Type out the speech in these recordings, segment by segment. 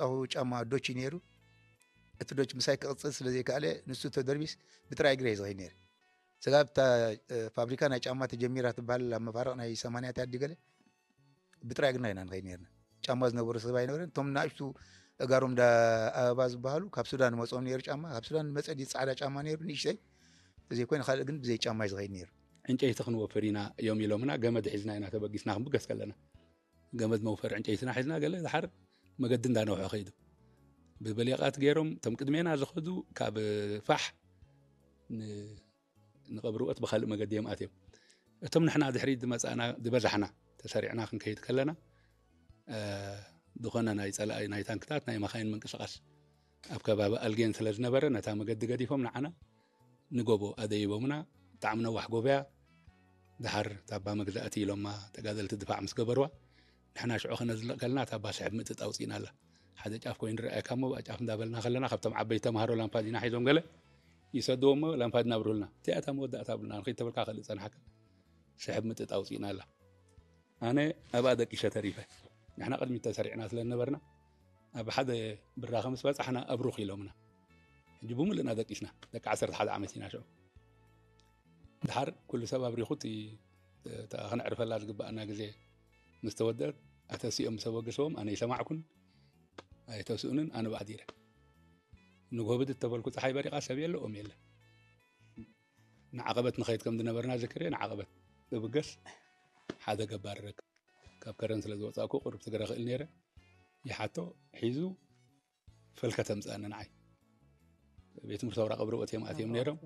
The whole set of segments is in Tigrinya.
ዝገዛእኹ ጫማ ዶች እዩ ነይሩ። እቲ ዶች ምሳይ ክቕጽል ስለ ዘይከኣለ፣ ንሱ ተደርቢስ ብጥራይ እግረ እየ ዝኸይድ ነይረ። ስጋብ እታ ፋብሪካ ናይ ጫማ ተጀሚራ ትበሃል ኣብ መፋርቕ ናይ ሰማንያታት ድዩ ገለ፣ ብጥራይ እግርና ኢና ንኸይድ ነርና። ጫማ ዝነበሮ ሰብ ኣይነበረን። እቶም ንኣሽቱ እጋሮም ዳ ኣበባ ዝበሃሉ ካብ ሱዳን መፅኦም ነይሩ ጫማ። ካብ ሱዳን መፀ ድዩ ፃዕዳ ጫማ ነይሩ ንእሽተይ፣ ተዘይኮይኑ ካልእ ግን ብዘይ ጫማ እዩ ዝኸይድ ነይሩ። ዕንጨይቲ ክንወፍር ኢና እዮም ኢሎምና። ገመድ ሒዝና ኢና ተበጊስና ክንብገስ ከለና፣ ገመድ መውፈሪ ዕንጨይትና ሒዝና ገለ ድሓር መገዲ እንዳነውሐ ከይዱ። ብብሌቓት ገይሮም እቶም ቅድሜና ዝኸዱ ካብ ፋሕ ን- ንቐብሪ ኦት ብኻልእ መገዲ እዮም ኣትዮም። እቶም ንሕና ድሕሪት ዝመጻእና ዝበዛሕና ተሰሪዕና ክንከይድ ከለና፣ ዝኾነ ናይ ጸላኢ ናይ ታንክታት ናይ መኻይን ምንቅስቓስ ኣብ ከባቢ ኣልጌን ስለ ዝነበረ፣ ነታ መገዲ ገዲፎም ንዓና ንጎቦ ኣደይቦምና። ብጣዕሚ ነዋሕ ጎቦ እያ። ድሓር ታባ መግዛእቲ ኢሎማ ተጋደልቲ ድፋዕ ምስ ገበርዋ፣ ንሕና ሽዑ ከነዝልቕ ከለና ታባ ስሕብ ምጥጥ ኣውጺእና ኣላ። ሓደ ጫፍ ኮይኑ ረኣየካ እሞ ብኣ ጫፍ እንዳበልና ከለና፣ ካብቶም ዓበይቲ ተምሃሮ ላምፓዲና ሒዞም ገለ ይሰድዎ እሞ ላምፓዲና ኣብርሁልና። እቲኣ እታ መወዳእታ ብልና ንኸይድ ተበልካ ከልእ ጸንሓካ። ስሕብ ምጥጥ ኣውጺእና ኣላ። ኣነ ኣብኣ ደቂሸ ተሪፈ። ንሕና ቅድሚት ተሰሪዕና ስለ ዝነበርና፣ ኣብ ሓደ ብራኸ ምስ በጻሕና ኣብሩኽ ኢሎምና። ሕጂ ብምልእና ደቂስና። ደቂ ዓሰርተ ሓደ ዓመት ኢና ሽዑ። ድሓር ኩሉ ሰብ ኣብሪኹ እቲ፣ እታ ክነዕርፈላ ዝግባኣና ግዜ ምስ ተወደአት፣ ኣተሲኦም ምስ ኣበገስዎም ኣነ ይሰማዕኩን ኣይተስኡንን፣ ኣነ ብኣዲረ። ንግሆ ብድድ ተበልኩ፣ ጸሓይ በሪቓ ሰብ የለ ኦም የለ። ንዓቐበት ንኸይድ ከም ዝነበርና ዝክር እየ። ንዓቐበት እብገስ ሓደ ገባር ረክብ። ካብ ከረን ስለ ዝወጻእኩ ቁሩብ ትግረ ክእል ነይረ። ይሓቶ ሒዙ ፈልከት ኣምጽኣኒ ንዓይ። ቤት ትምህርቲ ሰውራ ቀብሪ ወእትዮም ኣትዮም ነይሮም።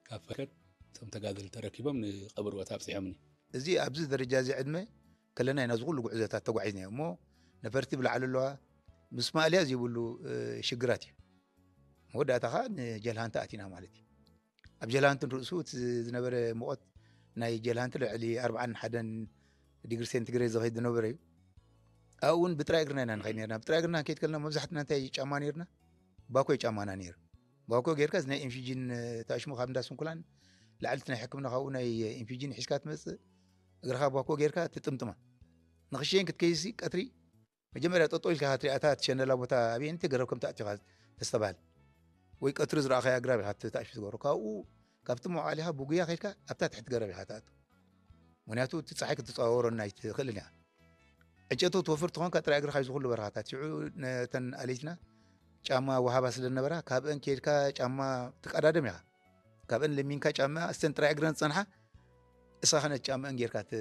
ካብ ፈልከት እቶም ተጋደልቲ ተረኪቦም ንቀብሪ ወታ ኣብጺሖምኒ። እዚ ኣብዚ ደረጃ እዚ ዕድመ ከለና ኢና እዚ ኩሉ ጉዕዞታት ተጓዒዝናዮ እሞ ነፈርቲ ብላዕሊ ኣለዋ። ምስ ማእልያ ዘይብሉ፣ እ፣ ሽግራት እዩ። መወዳእታ ኸኣ ንጀልሃንቲ ኣቲና ማለት እዩ። ኣብ ጀልሃንቲ ንርእሱ እቲ ዝነበረ ሙቐት ናይ ጀልሃንቲ ልዕሊ ኣርብዓን ሓደን ዲግሪ ሴንቲግሬድ ዝኸይድ ዝነበረ እዩ። ኣብኡ እውን ብጥራይ እግርና ኢና ንኸይድ ነርና። ብጥራይ እግርና ክንከይድ ከለና መብዛሕትና እንታይ ጫማ ነይርና? ባኮ ጫማና ነይሩ። ባኮ ጌርካ እዚ ናይ ኢንፊጂን፣ እ፣ ታሽሙ ካብ እንዳ ስንኩላን ላዕሊ እቲ ናይ ሕክምና ካብኡ ናይ ኢንፊጂን ሒዝካ ትመጽእ። እግርኻ ባኮ ጌርካ ትጥምጥማ። ንኽሸይን ክትከይሲ ቀትሪ መጀመርያ ጠጠው ኢልካ ትሪኣ እታ ትሸነላ ቦታ ኣብየንቲ ገረብ ከም ትኣትኻ ተስተባሃል። ወይ ቀትሪ ዝረኣኻያ ኣግራብ ኢኻ ትኣሽፍ ትገብሮ። ካብኡ ካብቲ መውዓሊኻ ብጉያ ከይድካ ኣብታ ትሕቲ ገረብ ኢኻ ትኣቱ። ምኽንያቱ እቲ ጸሓይ ክትጸዋወረና ኣይትኽእልን ኢኻ። ዕንጨቲ ትወፍር ትኾንካ ጥራይ እግርኻ እዩ ዝኹሉ በረኻታት። ሽዑ ነተን ኣለይትና ጫማ ወሃባ ስለ ዝነበራ ካብአን ከይድካ ጫማ ትቀዳደም ኢኻ። ካብአን ለሚንካ ጫማ እስተን ጥራይ እግረን ዝጸንሓ እሳ ኸነት ጫማአን ጌርካ ት-፣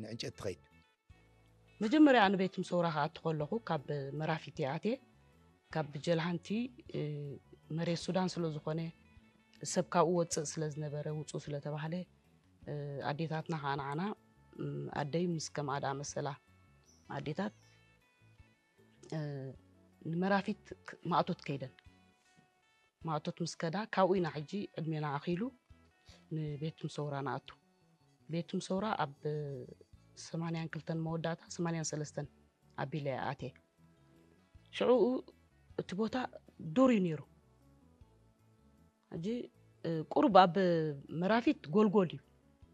ንዕንጨቲ ትኸይድ። መጀመርያ ንቤት ምሰውራ ክኣቱ ከለኹ ካብ መራፊት እየ ኣትየ። ካብ ጀልሃንቲ፣ እ፣ መሬት ሱዳን ስለ ዝኾነ ሰብ ካብኡ ወፅእ ስለ ዝነበረ ውፁ ስለ ተባህለ፣ እ፣ ኣዴታትና ከዓ ንዓና፣ እም፣ ኣደይ ምስ ከም ኣድኣ መሰላ ኣዴታት፣ እ፣ ንመራፊት ክ-፣ ማእቶት ከይደን። ማእቶት ምስ ከዳ ካብኡ ኢና ሕጂ ዕድሜና ኣኺሉ ንቤት ምሰውራ ንኣቱ። ቤት ምሰውራ ኣብ ሰማንያን ክልተን መወዳእታ ሰማንያን ሰለስተን ኣቢለ እየ ኣትየ። ሽዑኡ እቲ ቦታ ዱር እዩ ነይሩ። ሕጂ፣ እ፣ ቁሩብ ኣብ መራፊት ጎልጎል እዩ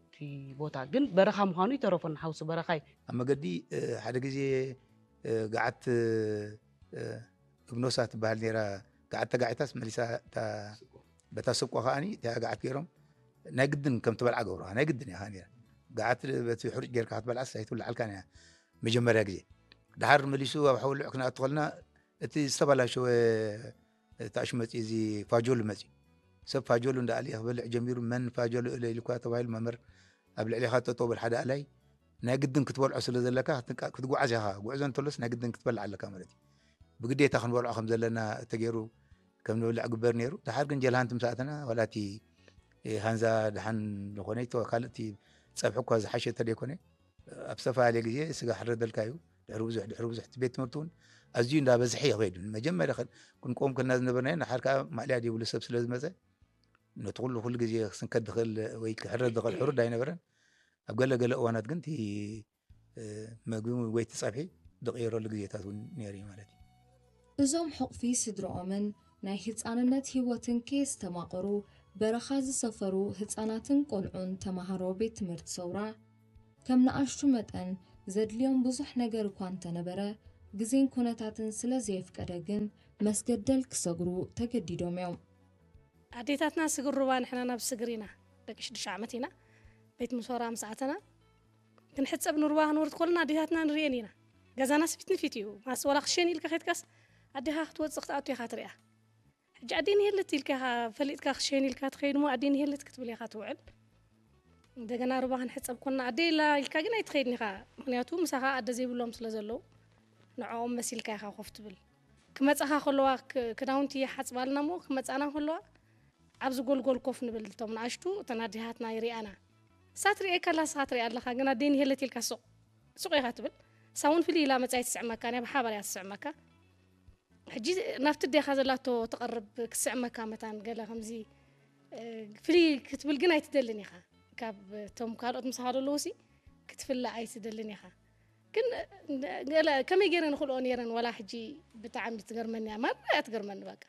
እቲ ቦታ፣ ግን በረኻ ምዃኑ ይተረፈና፣ ሓውሲ በረኻ እዩ። ኣብ መገዲ፣ እ፣ ሓደ ግዜ፣ እ፣ ገዓት፣ እ፣ እብኖሳ ትበሃል ነይራ። ገዓት ተጋዒታስ መሊሳ እታ፣ በታ ስቆ ከዓኒ እቲኣ ገዓት ገይሮም ናይ ግድን ከም ትበልዓ ገብሩኻ። ናይ ግድን ኢኻ ነይራ። ገዓት በቲ ሕሩጭ ጌርካ ክትበልዓስ ኣይትብልዓልካን እያ መጀመርያ ግዜ። ድሓር መሊሱ ኣብ ሓወልዕ ክንኣቱ ከለና እቲ ዝተበላሸወ ታእሹ መጺኡ፣ እዚ ፋጆሉ መጺኡ። ሰብ ፋጆሉ እንዳኣልየ ክበልዕ ጀሚሩ፣ መን ፋጆሉ እለ ኢልኳ ተባሂሉ መምህር ኣብ ልዕሌኻ ጠጠው በል ሓደ ኣላይ። ናይ ግድን ክትበልዖ ስለ ዘለካ ክትንቃ-፣ ክትጉዓዝ ኢኻ። ጉዕዞ እንተሎስ ናይ ግድን ክትበልዕ ኣለካ ማለት እዩ። ብግዴታ ክንበልዖ ከም ዘለና ተገይሩ ከም ንበልዕ ግበር ነይሩ። ድሓር ግን ጀልሃንቲ ምስ ኣተና ዋላ እቲ፣ እ፣ ሃንዛ ድሓን ዝኾነ ይተ-፣ ካልእ እቲ ጸብሒ እኳ ዝሓሸ እንተደይኮነ ኣብ ዝተፈላለየ ግዜ ስጋ ሕረደልካ እዩ። ድሕሪ ብዙሕ፣ ድሕሪ ብዙሕ እቲ ቤት ትምህርቲ እውን ኣዝዩ እንዳበዝሐ ይኸይዱ። መጀመርያ ከ-፣ ክንቆም ከልና ዝነበርናዮ ንሓር ከዓ ማእልያ ዘይብሉ ሰብ ስለ ዝመጸ ነቲ ኩሉ ኩሉ ግዜ ክስንከት ዝኽእል ወይ ክሕረድ ዝኽእል ሕሩድ ኣይነበረን። ኣብ ገለ ገለ እዋናት ግን እቲ፣ እ፣ መግቢ ወይ እቲ ጸብሒ ዝቕየረሉ ግዜታት እውን ነይሩ እዩ ማለት እዩ። እዞም ሕቑፊ ስድራኦምን ናይ ህጻንነት ህይወትን ከየስተማቐሩ በረኻ ዝሰፈሩ ህጻናትን ቆልዑን ተማሃሮ ቤት ትምህርቲ ሰውራ ከም ንኣሽቱ መጠን ዘድልዮም ብዙሕ ነገር እኳ እንተነበረ ግዜን ኩነታትን ስለ ዘየፍቀደ ግን መስገደል ክሰግሩ ተገዲዶም እዮም። ኣዴታትና ስግር ሩባ፣ ንሕና ናብ ስግር ኢና፣ ደቂ ሽዱሽተ ዓመት ኢና። ቤት ምሶራ ምስ ኣተና ክንሕጸብ ንሩባ ክንወርድ ከለና ኣዴታትና ንርእየን ኢና። ገዛናስ ፊት ንፊት እዩ። ማስ ዋላ ክሸን ኢልካ ከይትካስ ኣዴኻ ክትወጽእ ክትኣቱ ኢኻ ትሪኣ። ሕጂ ኣዴን የለት ኢልካ ኢኻ ፈሊጥካ ክሸን ኢልካ ትኸይድ እሞ ኣዴን የለት ክትብል ኢኻ ትውዕል። እንደገና ሩባ ክንሕጸብ ኮና ኣደ ኢላ ኢልካ ግን ኣይትኸይድን ኢኻ። ምክንያቱ ምሳኻ ኣደ ዘይብሎም ስለ ዘለዉ ንዕኦም መሲልካ ኢኻ ኮፍ ትብል። ክመጻኻ ከለዋ ክ- ክዳውንቲ ይሓጽባልና እሞ ክመጻና ከለዋ ኣብዚ ጎልጎል ኮፍ ንብል። እቶም ንኣሽቱ እተን ኣዴታትና ይሪኣና። እሳ ትሪኤካ ኣላ፣ ንስኻ ትሪኣ ኣለኻ፣ ግን ኣደይን ሄለት ኢልካ ሱቕ ሱቕ ኢኻ ትብል። እሳ እውን ፍልይ ኢላ መጻ ኣይትስዕመካ፣ ናይ ብሓባር እያ ትስዕመካ። ሕጂ ናብቲ ኣዴኻ ዘላቶ ትቐርብ ክትስዕመካ መታን ገለ ከምዚ እ፣ ፍልይ ክትብል ግን ኣይትደልን ኢኻ። ካብ እቶም ካልኦት ምሳኻ ዘለዉ ሲ ክትፍለ ኣይትደልን ኢኻ። ግን እ፣ ገለ ከመይ ገይረ ንኽልኦ ነይረን ዋላ ሕጂ ብጣዕሚ ትገርመኒ እያ። ማራ እያ ትገርመኒ በቃ።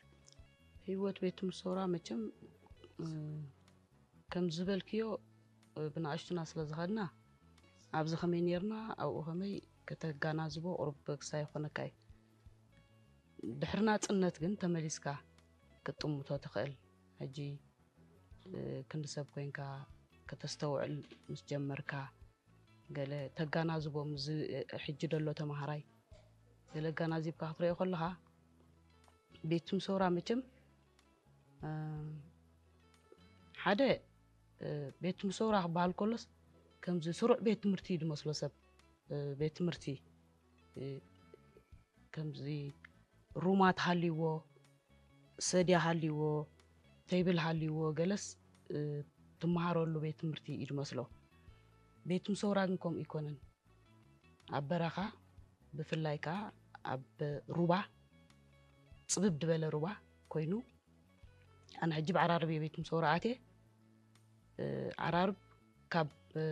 ህይወት ቤት ትምህርቲ ሰውራ መቸም እ፣ ከም ዝበልክዮ እ፣ ብንኣሽቱና ስለ ዝኸድና ኣብዚ ከመይ ነርና ኣብኡ ከመይ ከተጋናዝቦ ቁሩብ ክሳይ ይኾነካ እዩ። ድሕሪ ናጽነት ግን ተመሊስካ ክትጥምቶ ትኽእል። ሕጂ እ፣ ክንዲ ሰብ ኮይንካ ከተስተውዕል ምስ ጀመርካ ገለ ተጋናዝቦ ምስ እ፣ ሕጂ ደሎ ተምሃራይ ገለ ኣጋናዚብካ ክትሪኦ ከለኻ ቤት ትምህርቲ ሰውራ መቸም እ፣ ሓደ እ፣ ቤት ትምህርቲ ሰውራ ክበሃል ከሎስ ከምዚ ስሩዕ ቤት ትምህርቲ እዩ ዝመስሎ ሰብ እ፣ ቤት ትምህርቲ እ፣ ከምዚ ሩማት ሃልይዎ ሰድያ ሃልይዎ ቴብል ሃልይዎ ገለስ እ፣ ትመሃረሉ ቤት ትምህርቲ እዩ ዝመስሎ። ቤት ትምህርቲ ሰውራ ግን ከምኡ ኣይኮነን። ኣብ በረኻ ብፍላይ ከዓ ኣብ ሩባ ጽብብ ዝበለ ሩባ ኮይኑ ኣነ ሕጂ ብዓራርብ እየ ቤት ትምህርቲ ሰውራ ኣትየ። እ፣ ዓራርብ ካብ እ፣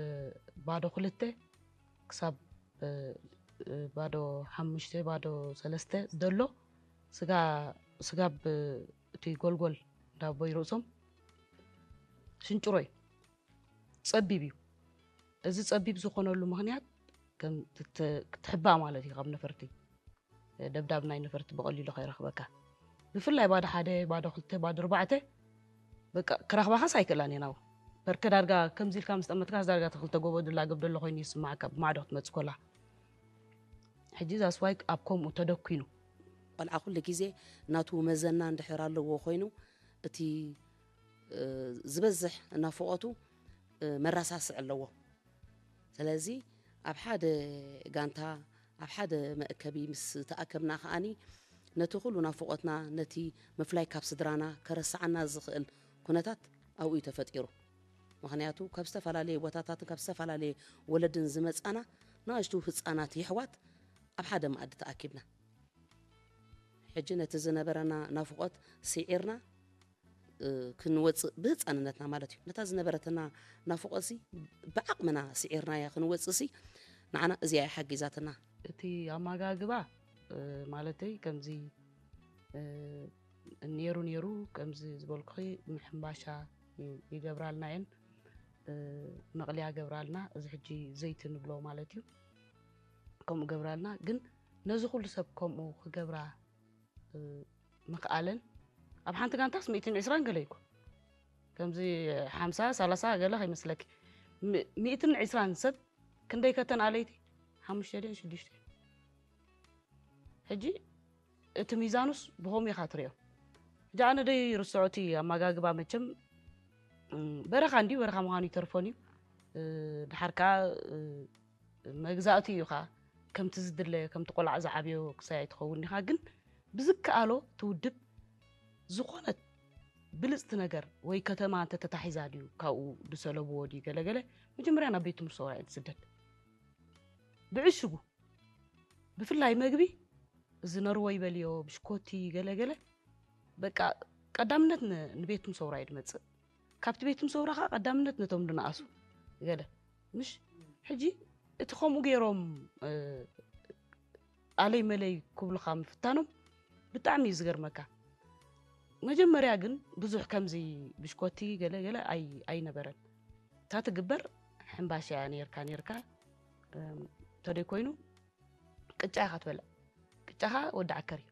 ባዶ ክልተ ክሳብ እ፣ እ፣ ባዶ ሓሙሽተ ባዶ ሰለስተ ዘሎ ስጋ ስጋብ እ፣ እቲ ጎልጎል ዳቦይ ርእሶም ሽንጭሮ እዩ። ጸቢብ እዩ። እዚ ጸቢብ ዝኾነሉ ምኽንያት ከም ትተ- ክትሕባእ ማለት እዩ ካብ ነፈርቲ። ደብዳብ ናይ ነፈርቲ ብቐሊሉ ከይረኽበካ። ብፍላይ ባዶ ሓደ፣ ባዶ ክልተ፣ ባዶ ኣርባዕተ በቃ ክረኽባኻስ ኣይክእላን እየን። ኣብኡ በርከ ዳርጋ ከምዚ ኢልካ ምስ ጠመትካስ ዳርጋ ተኽልተ ጎቦ ድላገብ ደሎ ኮይኑ ይስማዓካ ብማዕዶ ክትመጽእ ኮላ። ሕጂ ዛስዋይ ኣብ ከምኡ ተደኩኑ። ቆልዓ ኩሉ ግዜ ናቱ መዘና እንድሕር ኣለዎ ኮይኑ እቲ እ፣ ዝበዝሕ ናፍቖቱ እ፣ መረሳስዕ ኣለዎ። ስለዚ ኣብ ሓደ ጋንታ ኣብ ሓደ መእከቢ ምስ ተኣከብና ከኣኒ ነቲ ኩሉ ናፍቖትና ነቲ ምፍላይ ካብ ስድራና ከረስዓና ዝኽእል ኩነታት ኣብኡ እዩ ተፈጢሩ። ምኽንያቱ ካብ ዝተፈላለየ ቦታታትን ካብ ዝተፈላለየ ወለድን ዝመጻና ንኣሽቱ ህጻናት የሕዋት ኣብ ሓደ መኣዲ ተኣኪብና ሕጂ ነቲ ዝነበረና ናፍቖት ስዒርና እ፣ ክንወፅእ ብህፃንነትና ማለት እዩ ነታ ዝነበረትና ናፍቖትሲ ብዓቕምና ስዒርናያ ክንወፅእሲ ንዓና እዚኣ እያ ሓጊዛትና። እቲ ኣመጋግባ እ፣ ማለተይ ከምዚ እ፣ ነይሩ ነይሩ ከምዚ ዝበልኩኺ ምሕምባሻ ይ- ይገብራልና እየን እ፣ መቕልያ ገብራልና እዚ ሕጂ ዘይቲ ንብሎ ማለት እዩ ከምኡ ገብራልና ግን ነዚ ኩሉ ሰብ ከምኡ ክገብራ እ፣ ምኽኣለን ኣብ ሓንቲ ጋንታስ ሚእትን ዕስራን ገለ ይኮ ከምዚ ሓምሳ ሰላሳ ገለ ከይመስለኪ ሚ- ሚእትን ዕስራን ሰብ ክንደይ ከተን ኣለይቲ ሓሙሽተ ድን ሽዱሽተ ሕጂ እቲ ሚዛኑስ ብኸምኡ ኢኻ ትሪኦ ሕጂ ኣነ ደይ ርስዖ እቲ ኣመጋግባ መቸም እም፣ በረኻ እንዲዩ በረኻ ምዃኑ ይተርፎን እዩ እ፣ ድሓር ከዓ እ፣ መግዛእቲ እዩ ከዓ ከምቲ ዝድለ ከምቲ ቆልዓ ዝዓብዮ ክሳይ ኣይትኸውን ኢኻ ግን ብዝከኣሎ እቲ ውድብ ዝኾነት ብልፅቲ ነገር ወይ ከተማ እንተተታሒዛ ድዩ ካብኡ ዝሰለብዎ ድዩ ገለገለ መጀመርያ ናብ ቤት ትምህርቲ ሰውራ እየ ዝስደድ ብዕሽጉ ብፍላይ መግቢ እዚ ነርወ ይበልዮ ብሽኮቲ ገለገለ በቃ ቀዳምነት ን- ንቤት ትምህርቲ ሰውራ እዩ ዝመፅእ ካብቲ ቤት ትምህርቲ ሰውራ ከዓ ቀዳምነት ነቶም ዝነኣሱ ገለ ምሽ ሕጂ እቲ ከምኡ ገይሮም እ፣ ኣለይ መለይ ክብሉኻ ምፍታኖም ብጣዕሚ እዩ ዝገርመካ መጀመርያ ግን ብዙሕ ከምዚ ብሽኮቲ ገለ ገለ ኣይ- ኣይነበረን እታ ትግበር ሕምባሻ እያ ነርካ ነርካ እም፣ ተደይ ኮይኑ ቅጫ ኢኻ ትበልዕ ኣፍቲሕካ ወዲ ዓከር እዩ።